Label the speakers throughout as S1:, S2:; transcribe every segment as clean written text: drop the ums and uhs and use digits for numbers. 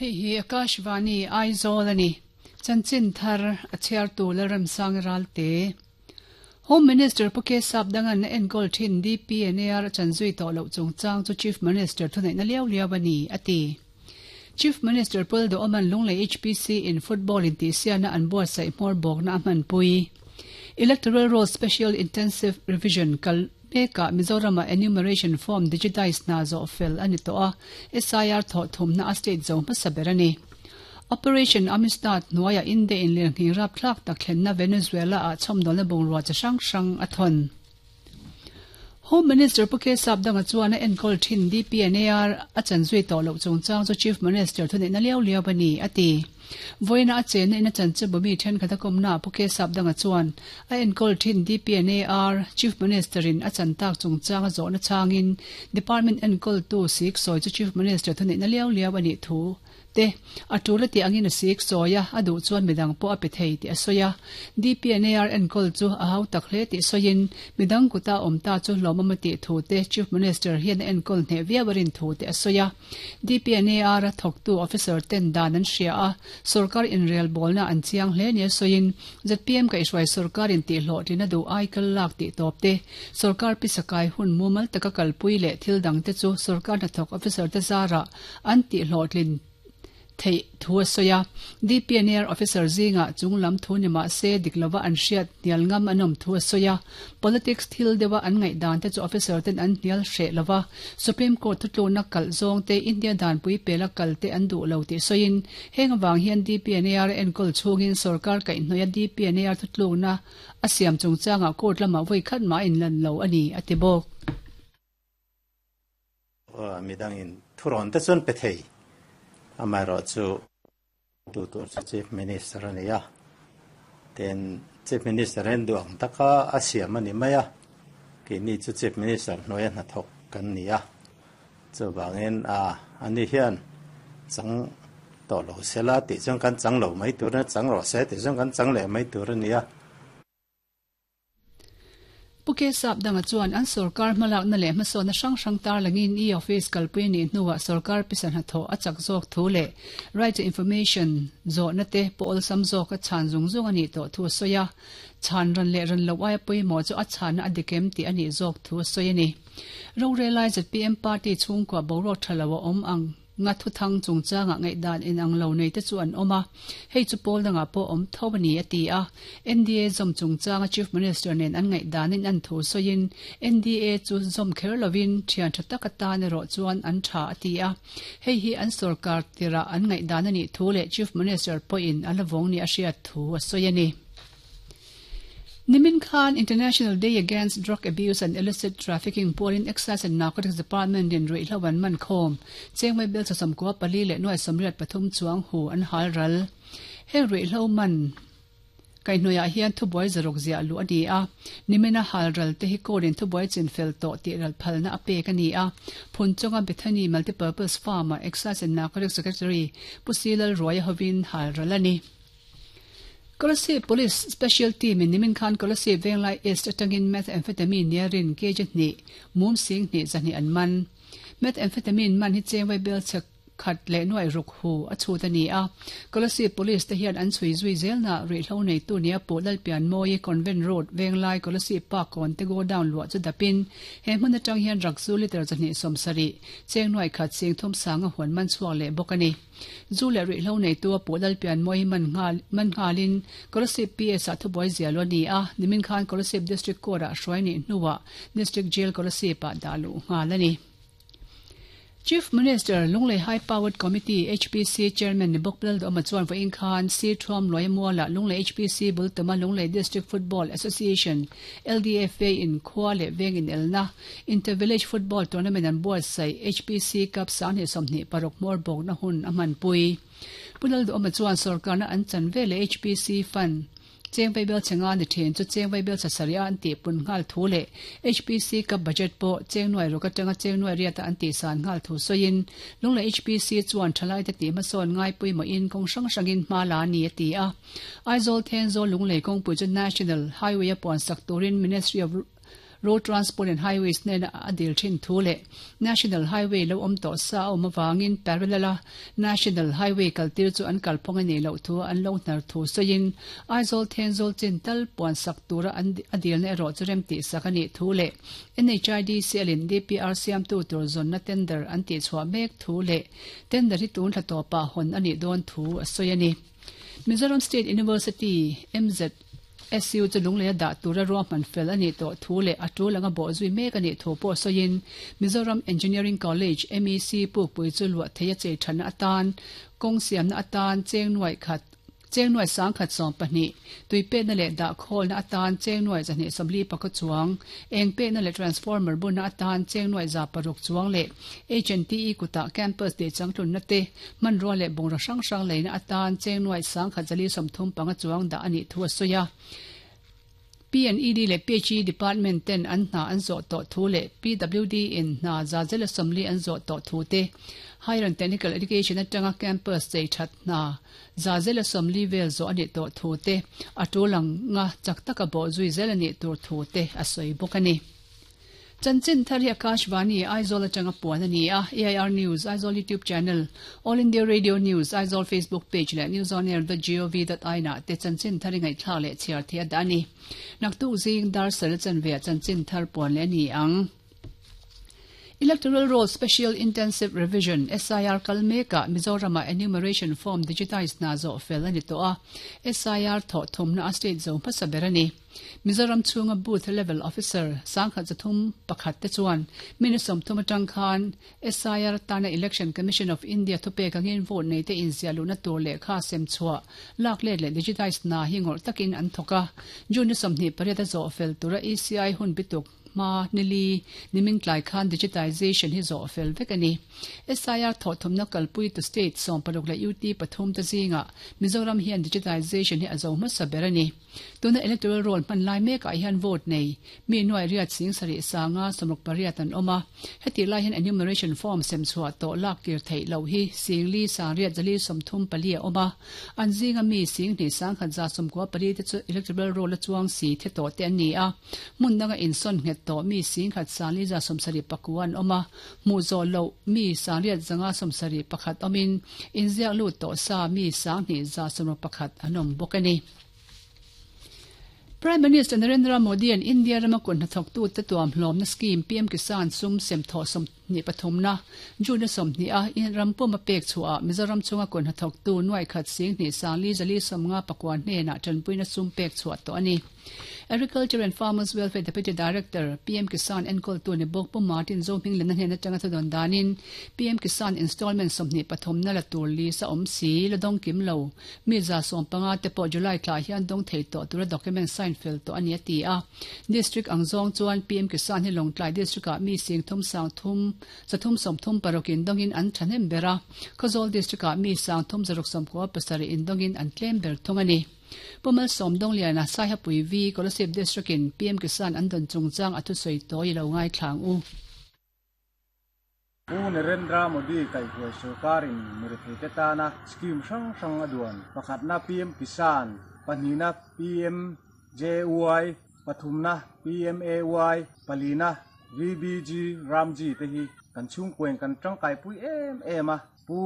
S1: Hei hi Akashvani Aizawl a ni. Chanchin thar a chhiartu Lalremsang Ralte. Home Minister Pu Kesap Dangan a enkawl thin DPNAR a chanzui tawh loh chungchang chu Chief Minister thuneihna liau liau a ni, a ti. Chief Minister Pu Lalduhawman Lunglei HPC in football intihsiahna an buatsaih hmawr bawkna a hmanpui. Electoral Roll Special Intensive Revision kal mekah Mizoramah enumeration form digitize hna zawh fel a ni tawh a, SIR thawh thumna a state zo hmasa ber a ni. Operation Amistad hnuaiah India in lirnghing rapthlak tak thlenna Venezuela-ah chhawmdawlna bungrua chi hrang hrang a thawn. Home Minister Pu K Sapdanga chuan a enkawl thin DPNAR a chan zui tawh loh chungchang chu Chief Minister thuneihna liau liau a ni, a ti. Vawiina a chenna in a chanchinbu mi thenkhat a kawmnaah Pu K Sapdanga chuan a enkawl thin DPNAR Chief Minister in a chan tak chungchang a zawhna changin Department enkawltu siksawi chu Chief Minister thuneihna liau liau a nih thu Te, a tul a tih angin a sik sawi a, a duh chuan midang pawh a pe thei tih a sawi a. DPNAR enkawl chu a hau tak hle tih sawiin, midang kuta awm ta chu hlawmawm a tih thu te Chief Minister hian a enkawl hneh viau a rin thu te a sawi a. DPNAR a thawktu officer ten dan an hria a, sorkar inrelbawlna an chiang hle nia sawiin, zpm kaihhruai sorkar in tihhlawhtlin a duh aikal lak tih tawp te, sorkar pisakai hun mumal taka kalpui leh thil dang te chu sorkar hnathawk officer te zarah an tihhlawhtlin theih thu a sawi a. DPNR officer zingah chung lam thu ni mah se dik lova an hriat hnial ngam an awm thu a sawi a. Politics thil deuha an ngaihdan te chu officer ten an hnial hreh lova, Supreme Court thutlukna kalh zawng te India danpui pela kal te an duh lo tih sawiin heng avang hian DPNR a enkawl chhungin sorkar kaihhnawih a DPNR thutlukna a siam chungchangah court lamah vawi khat mah a inlan lo a ni, a ti bawk.
S2: Midangin thurawn te chuan pe thei, amaherawhchu tu tur chu Chief Minister a ni a, tin Chief Minister hian duh ang taka a siam a ni mai a, keini chu Chief Minister hnuaia hnathawk kan ni a, chuvangin ani hian chang tawh lo sela tih chuan kan chang lo mai tur a ni a, chang rawh se tih chuan kan chang leh mai tur a ni a.
S1: Pu Kesap danga chuan an sorkar hmalakna leh hmasawnna hrang hrang tarlangin e-office kalpui a nih hnuah sorkar pisa hnathawh a chak zawk thu leh Right to Information zawhna te pawh awlsam zawka chhan zung zung a nih tawh thu a sawi a. Chhan ran leh ran loh aia pawimawh chu a chhanna a dik em tih a nih zawk thu a sawi a ni. Rorelai zpm party chhungkua boruak tha lo a awm ang. Nga thuthang chungchangah ngaihdan inang lo nei te chu an awm a, hei chu pawl dangah pawh awm tho a ni, a ti a. NDA zawm chungchanga Chief Minister nen an ngaihdanin an thu sawiin, NDA chu zawm kher lovin thian tha tak atan erawh chuan an tha, a ti a. Hei hi an sorkar tirah an ngaihdan a nih thu leh Chief Minister pawhin a la vawng nih a hriat thu a sawi a ni. Nimin khan International Day Against Drug Abuse and Illicit Trafficking pualin Excise and Narcotics Department in ruihhlo an man khawm. Chengmai bel chawsawmkua pali leh nuai sawmriat pathum chuang hu an hal ral. Heng ruihhlo man kaihhnuaiah hian thubuai zaruk ziah luh a ni a. Nimina hal ral te hi court in thubuai chinfel tawh tih ral phalna a pek a ni a. Phunchawng-a Bethany Multipurpose Farm-ah Excise and Narcotics Secretary Pu Silal Ruaia hovin hal ral a ni. Kolasib Police Special Team in nimin khan Kolasib Venglai East atangin Methamphetamine nia rin kg hnih, mum sing hnih zahnih an man. Methamphetamine man hi cheng vaibel chhe khat leh nuaih ruk hu a chhut a ni a. Kolasib Police te hian an chhui zui zelna ruihhlo neitu nia Pu Lalpianmawi Convent Road Venglai Kolasib Park kawn te godown luah chu dapin he hmun atang hian rakzu litre zahnih sawmsarih cheng nuaih khat sing thum sanga huan man chhuak leh bawk a ni. Zu leh ruihhlo neitu a puh Lalpian Mawi man nghal man nghalin Kolasib PS ah thubuai zial a ni a, nimin khan Kolasib District Court ah hruai nih hnuah District Jail Kolasib ah dah luh nghal a ni. Chief Minister, Lunglei High Powered Committee, HPC, Chairman ni bawk Lalduhawma chuan vawiin khan Sir Thuam Luaia Mualah Lunglei HPC bul tuma Lunglei District Football Association, LDFA, in khua leh veng inelna Inter-Village Football Tournament an buatsaih HPC Cup 2026 hmawr bawkna hun a hmanpui. Pu Lalduhawma chuan sorkarna an chan veleh HPC Fund cheng vaibel chhe nga ni thin chu cheng vaibel chhe sarih a an tihpun nghal thu leh HPC Cup budget pawh cheng nuai ruk atanga cheng nuai riata an tihsan nghal thu sawiin Lunglei HPC chuan thalaite tih hmasawn ngai pawimawhin kawng hrang hrangin hma la a ni a ti a. Aizawl Thenzawl Lunglei kawngpui chu National Highway a puansak turin Ministry of. Road Transport and Highways hnena a dil thin thu leh National Highway lo awm tawh sa a awm avangin parallel a National Highway kaltir chu an kalphawng a nih loh thu an lo hnar thu sawiin Aizawl Thenzawl chin tal puan sak tura an a dilna erawh chu rem tihsak a nih thu leh NHIDCL in DPR siamtu tur zawnna tender an tihchhuah mek thu leh tender hi tun thla tawpah hawn a nih dawn thu a sawi a ni. Mizoram State University, MZSU, chu lungleia dah tura ruahman fel a nih tawh thu leh a tul anga bawh zui mek a nih thu pawh sawiin Mizoram Engineering College, MEC, pukpui chu luah theia chei thatna atan kawng siamna atan cheng nuaih khat Cheng nuai sangkhat 12, tui pekna leh dah khawlna atan cheng nuai 240 pakua chuang, eng pekna leh transformer bunna atan cheng nuai 600 chuang leh HNTE kutah campus tih changtlunna te, hmanrua leh bungraw hrang hrang leina atan cheng nuai sangkhat 435 chuang dah a nih thu a sawi a. PNED leh PHE Department ten an hna an zawh tawh thu leh PWD in hna 40% an zawh tawh thu te, Higher and Technical Education atanga campus chei that hna 40% vel zawh a nih tawh thu te, a tul anga chak taka bawh zui zel a nih tur thu te a sawi bawk a ni. Chanchin thar hi Akashvani, Aizawl atanga puan a ni a, AIR News, Aizawl YouTube Channel, All India Radio News, Aizawl Facebook Page leh newsonair.gov.in ah te chanchin thar i ngaihthlak leh chhiar theih a dah a ni. Naktuk zing dar sal chanve ah chanchin thar puan leh a ni ang. Electoral Roll Special Intensive Revision, SIR, kal mekah Mizoramah Enumeration Form digitize hna zawh fel a ni tawh a, SIR thawh thumna a state zo hmasa ber a ni. Mizoram chhunga Booth Level Officer 1301 te chuan minute 30 atang khan SIR tana Election Commission of India thupek angin vote nei te inziah luhna tur lehkha sem chhuah lak let leh digitize hna hi ngawrh takin an thawk a. June ni 28 a zawh fel tura ECI hun bituk hma nili nimin tlai khan digitization hi zawh fel vek a ni. SIR thawhthumna kalpui tu state 16 leh UT pathum te zingah Mizoram hian digitization hi a zo hmasa ber a ni. Tuna electoral roll hman lai mekah hian vote nei mi nuai riat sing sarih sanga 68 an awm a. Hetih lai hian enumeration form sem chhuah tawh lak kir theih loh hi singli sangriat zali 34 a awm a. An zinga mi 21 194 te chu electoral roll a chuang si the tawh te an ni a. Hmun danga insawn nghet tawh mi 10 479 an awm a. Hmuh zawh loh mi 871 awmin inziak lut tawh sa mi 2161 an awm bawk a ni. Prime Minister Narendra Modi-a'n India rama kut hnathawktute tuamhlawmna scheme PM Kisan sum sem thawh 23 na June a 20 a in ram puma pek chhuahah Mizoram chhunga kut hnathawktu nuai khat 2 4 4 459 hnenah tanpuina sum pek chhuah tawh a ni. Agriculture and Farmers Welfare Deputy Director, PM Kisan enkawltu ni bawk Pu Martin Zohminglena hnen atanga thudawn danin PM Kisan installment 23 na la tur list a awm si, la dawng kim lo. Mi 150 te pawh July thla hian dawng thei tawh tura document sign fel tawh a ni a ti a. District ang zawng chuan PM Kisan hi Lawngtlai District ah mi 3 sang thum 330 36 in dawngin an thahnem ber a, Khawzawl District ah mi 3 697 in dawngin an tlem ber thung a ni. Pu Malsawm Dawngliana Saihapui V Kolasib District in PM Kisan an dawn chungchang a thusawi tawi lo ngaithlang u.
S3: Pu Narendra Modi kaihhruai sorkarin miretheite tana scheme hrang hrang a duan. Pakhatna PM Kisan, pahnihna PMJY, pathumna PMAY, palina VBG Ramji te hi kan chhungkuain kan tangkaipui em em a. Pu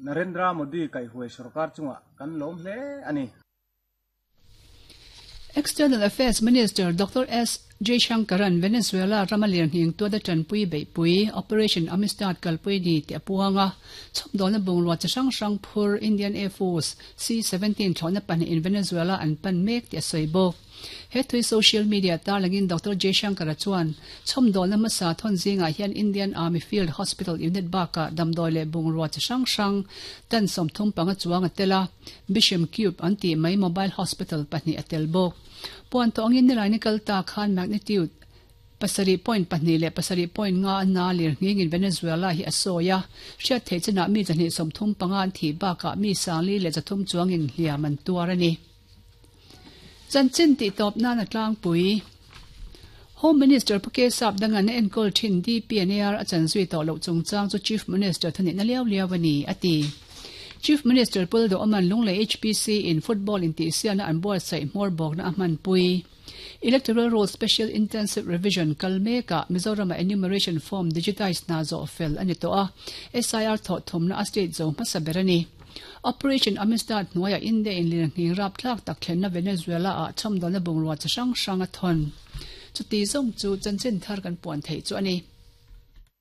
S3: Narendra Modi kaihhruai sorkar chungah kan lawm hle a ni.
S1: External Affairs Minister Doctor S. Jaishankar-a'n Venezuela rama lirnghing tuata tanpui beihpui, Operation Amistad kalpui ni tih a puang a. Chhawmdawlna bungrua chi hrang hrang phur Indian Air Force C-17 thlawhna pahnihin Venezuela an pan mek tih a sawi bawk. He thui social media tarlangin Doctor Jaishankar-a chuan chhawmdawlna hmasa thawn zingah hian Indian Army Field Hospital unit bakah damdawi leh bungrua chi hrang hrang tan 35 chuang a tel a. Bisham Cube an tih mai mobile hospital pahnih a tel bawk. Puan tawh angin nilaini kal ta khan magnitude 7.2 leh 7.5 a na lirnghingin Venezuela hi a sawi a, hriat theih chinah mi 235 an thih bakah mi 4,300 chuangin hliam an tuar a ni. Chanchin tih tawp nan a tlangpui. Home Minister Pu Kesap Dangan a enkawl thin DPNAR a chan zui tawh loh chungchang chu Chief Minister thunihna liau liau a ni, a ti. Chief Minister Pul Duhawman Lunglei HPC in football intihsialna an buatsaih hmawr bawkna a hmanpui. Electoral Roll Special Intensive Revision kal mekah Mizorama enumeration form digitize hna zawh fel a ni tawh a, SIR thawh thumna a state zo hmasa ber a ni. Operation Amistad hnuaiah India in lirnghing rapthlak tak thlenna Venezuela-ah chhawmdawlna bungrua chi hrang hrang a thawn. Chuti zawng chu chanchin thar kan puan theih chu a ni.